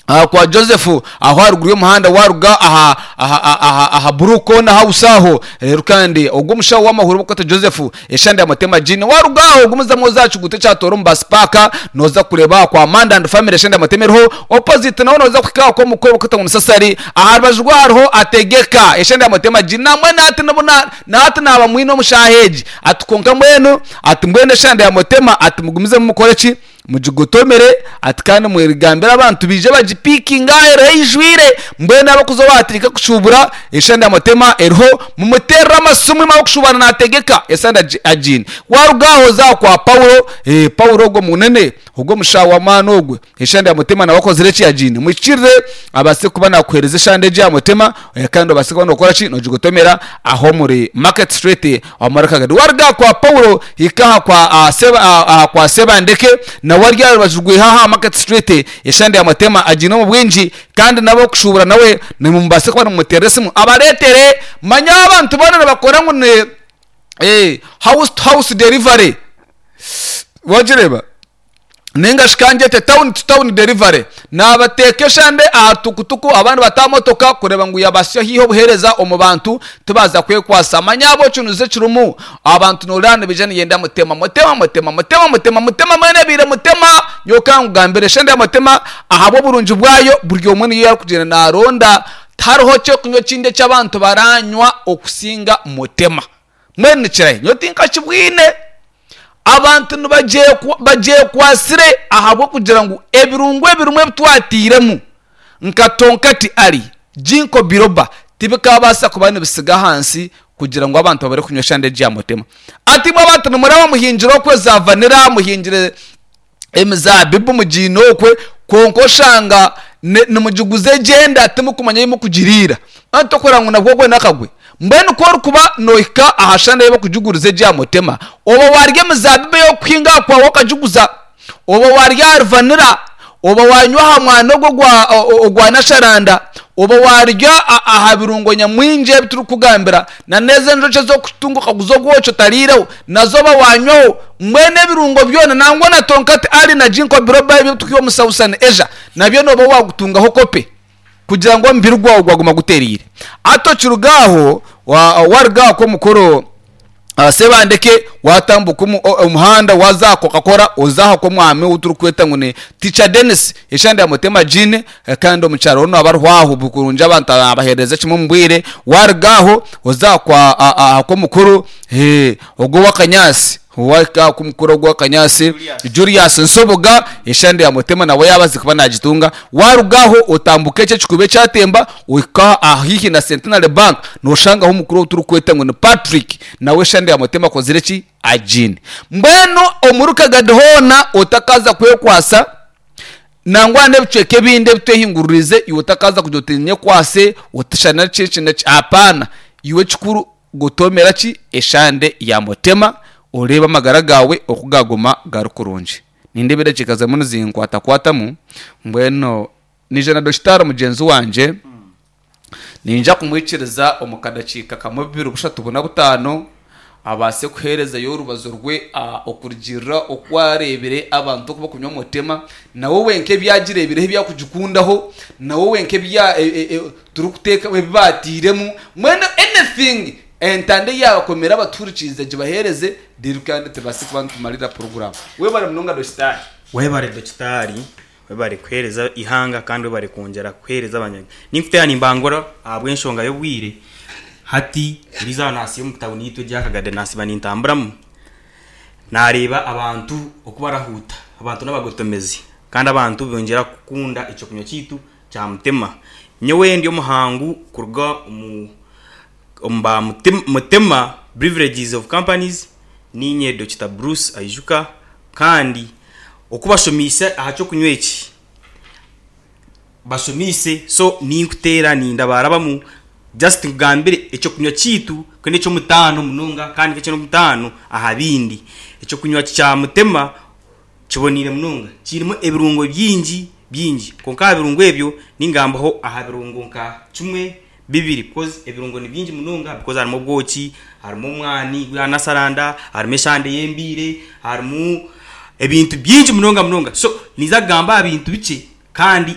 Aha kwa Joseph aho aharuguru y'omuhanda waruga aha aha aha aha Blue Corner House aho reero kandi ogwo omushaho w'amahuri barikweta Joseph eshande ya Mutema Gin waruga aho ogumizamu oze aha kiguuto ekya Tooro omu bus park noza kureeba aha kwa Manda and Family eshande ya Mutema eriho opposite naho noza kuhika aha kw'omukuru barikweta ngu ni Sasari aha rubaju rwaho hariho Ategeka eshande ya Mutema Gin nambwenu hati nibu na hati naaba mwine omu shaaha egi ati kwonka mbwenu ati mbwenu eshande ya Mutema ati mugumizemu mukore ki? Mugigotomere, ati kandi mwegambire abantu baije bagipiikinge aha eriho eijwire. Mbwenu abarikuza owaatandika kushuubura eshande ya Mutema eriho, mumuteerere amasimu imwe abarikushubana naategeka esande agiine. Waaruga aho oze aha kwa Paulo, ee Paulo ogwo munene, ogwo omushaho w'amaani ogwo, eshande ya Mutema nawe akozire ki? Agiine. Muhikirire abaase kuba naakuheereza eshande egyo ya Mutema kandi obaase kuba nookora ki? Noogigotomera aho omuri Market Street. Omuri Kagadi. Waruga aha kwa Paulo, hika aha kwa aha Seba, aha, aha kwa Sebandeke, nawe ari aha rubaju rwaiha aha Market Street, eshande ya Mutema agiine omu bwingi, kandi n'ab'okushuubura nawe nimubaasa kuba nimumuteerera esimu abareetere. Manya abantu boona nibakora ngu ni eh, house to house delivery. Wagireeba? Nainga shi ka ngyete town to town delivery. Naabateeka eshande aha tukutuku abandi bata aha motoka kureeba ngu yaabahitsya haihi obuheereza omu bantu tibaaza kwekwasa. Manya ahabw'okinuzi ekirimu abantu nooreeba nibaija niyenda mutema mutema mutema mutema mutema mutema mbwenu ebaire mutema. Nyowe ka nkugambire eshande ya mutema ahabw'oburungi bwayo buri omwe niyo arikugyenda naaronda. Tihariho ky'okunywa ekindi eki abantu baranywa okusinga mutema. Mbwenu nikirahi? Nyowe tinkakibwine. Abantu nibagyekwasire ahabw'okugira ngu ebirungo ebirimu ebi twatairemu nka tonkati ali, ginkgo biloba tibikaabaasa kuba nibitsiga ahansi kugira ngu abantu babure kunywa eshande egi ya mutema. Ati imwe abantu nimuraba muhingire okwe za vanira, muhingire emizaabibu mugiine okwe, kwonka oshanga nimugiguza egyenda timukumanya ei mukugiriira. Anti tokureba ngu nabwo ogwe n'akagwe. Mbwenu ku orikuba noohika aha shande ei barikugiguriza egyo aha mutema, oba waarya emizaabibu ey'okuhinga aha kwawe okagiguza, oba waarya ahari vanira, oba waanywa aha mwani ogwo ogwa nasharanda, oba waarya aha birungo nyamwingi ebi turikukugambira, na n'ezo enjoki ez'okutunga okaguza obwoki otariireho, nazo oba waanywaho. Mbwenu ebirungo byona, nangwa na tonkati ali na ginkgo biloba ebi ebitukuha omu Southern Asia, nabyo nooba waagutungaho kope kugira ngu omubiri gwawe gwaguma gutereire. Hati okiruga aho, waruga aha kw'omukuru Sebandeke, waatambuka omuhanda waaza aha Coca-Cola, oza aha kw'omwami ou turikweta ngu ni Teacher Denis, eshande ya Mutema Jean, kandi omu kyaro hoona haba hariho aho kurungi abantu abaheereza kimwe omu bwire. Waaruga aho oza aha kwa aha kw'omukuru ogwo ow'akanyaatsi. Owahika aha kw'omukuru ogwo ow'akanyaatsi Julius Nsubuga, eshande ya Mutema nawe yaabaasa kuba naagitunga. Waaruga aho otambuka ekyo ekikuubo ekyatemba ohika aha haihi na Centenary Bank nooshangaho omukuru ou turikweta ngu ni Patrick nawe eshande ya Mutema akozire ki? Agiine. Mbwenu omuri Kagadi hoona otakaaza kwekwasa Nangwa n'ebicweka ebindi ebitwehinguririize, iwe otakaaza kugira oti nyekwase, oti shana ki eki n'eki. Hapana, iwe ekikuru gotoomera ki eshande ya Mutema, oreebe amagara gaawe oku gaaguma gari kurungi. Nindeeba edakiika zirimu nizinkwatakwatamu, mbwenu naija na dokitaari mugyenzi wangye, Niinyija kumwikiriza omu kadakiika kamwe, bubiri, bushatu, buna, butaano, abaase kuheerezayo orubazo rwe okurugiirira oku areebire abantu oku barikunywa Mutema, nawe wenka ebi agireebireho ebi arikugikundaho, nawe wenka ebi turikuteeka ebi baatairemu, mbwenu anything entanda ei yaabakomera abatuhurikiize agibaheereze reero kandi tubaase kuba nitumarira puroguraamu. Webare munonga Dokitaari. Webare Dokitaari. Webare kuheereza eihanga kandi webare kwongyera kuheereza abanya. Ninkuteera nimbangura ahabw'enshonga y'obwire. Hati eriizooba naasiiba omu tawuni yaitu egya Kagadi naasiiba nintamburamu, naareeba abantu oku barahuuta. Abantu n'abagotomezi kandi abantu bongyera kukunda ekyokunywa kyaitu kya Mutema. Nyowe ndi omuhangu kuruga omu omu ba Mutema Beverages of Companies, niinye Dokita Bruce Aijuka Kandi oku bashomeise aha ky'okunywa eki, bashomeise so ninkuteera nindabarabamu just nkugambire eky'okunywa kyaitu ku n'eky'omutaano munonga kandi nk'eky'omutaano aha bindi. Eky'okunywa kya Mutema kiboneire munonga, kirimu ebirungo bingi bingi kwonka aha birungo ebyo ningambaho aha birungo nka kimwe bibiri because ebirungo ni bingi munonga because harimu obwoki, harimu omwani gwa nasaranda, harimu eshande y'embiire, harimu ebintu bingi munonga munonga. So ninza kugamba aha bintu bikye kandi.